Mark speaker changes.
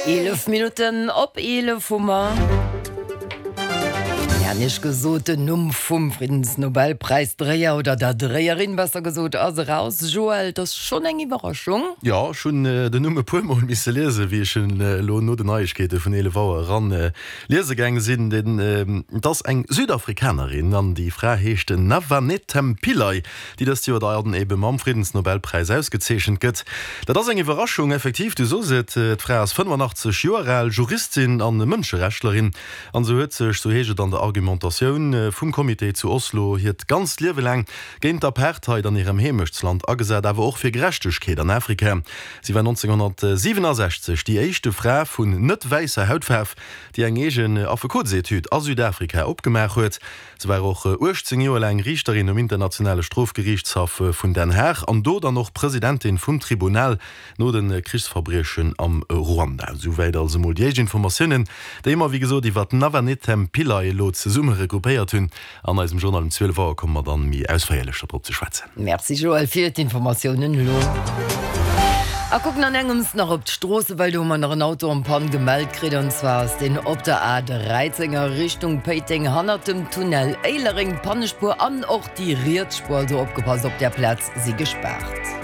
Speaker 1: 11 Minutten op 11 hu mer. Mir han Iech gesot, den Numm vum Friddensnobelpräisdréier, oder der Dréierin besser gesot, ass eraus. Joël, et ass schonn eng Iwwerraschung.
Speaker 2: Jo, ech hunn den Numm e puer Mol misse liesen, wéi ech en elo no den Neiegkeete vun 11 Auer eran liese gaange sinn. Et ass eng Südafrikanerin an déi Fra heescht Navanethem Pillay. déi dëst Joer dann ebe mam Friddensnobelpräis ausgezeechent gëtt. Dat ass eng Iwwerraschung, effektiv, du sos et, d'Fra ass 85 Joer al, Juristin an Mënscherechtlerin, an se huet sech, sou heescht et an der Argumentatioun vum Comité zu Oslo, hiert ganzt Liewe laang géint d'Apartheid an hirem Heemechtsland agesat, awer och fir Gerechtegkeet an Afrika. Si war 1967 déi éischte Fra vun net wäisser Hautfaarf, déi eng eegen Affekotsetude a Südafrika opgemaach huet. Se war och 18 Joer laang Riichterin um Internationale Strofgeriichtshaff vun Den Haag an do dann och Presidentin vum Tribunal no de Krichsverbriechen am Ruanda. Souwäit also mol déi éischt Informatiounen, déi mer wéi gesot iwwer d'Navanethem Pillay elo zesumme regroupéiert hunn. An eisem Journal um 12 Auer komme mer dann méi ausféierlech dodrop ze schwätzen.
Speaker 1: Merci Joël fir d'Informatiounen elo. A kucken an engems nach op d'Stroosse, well do hu mer nach en Auto en panne gemellt kritt. An zwar ass deen op der A 13 a Richtung Péiteng hannert dem Tunnel Éilereng. D'Pannespuer an och déi riets Spuer, also opgepasst, op där Plaz si gespaart.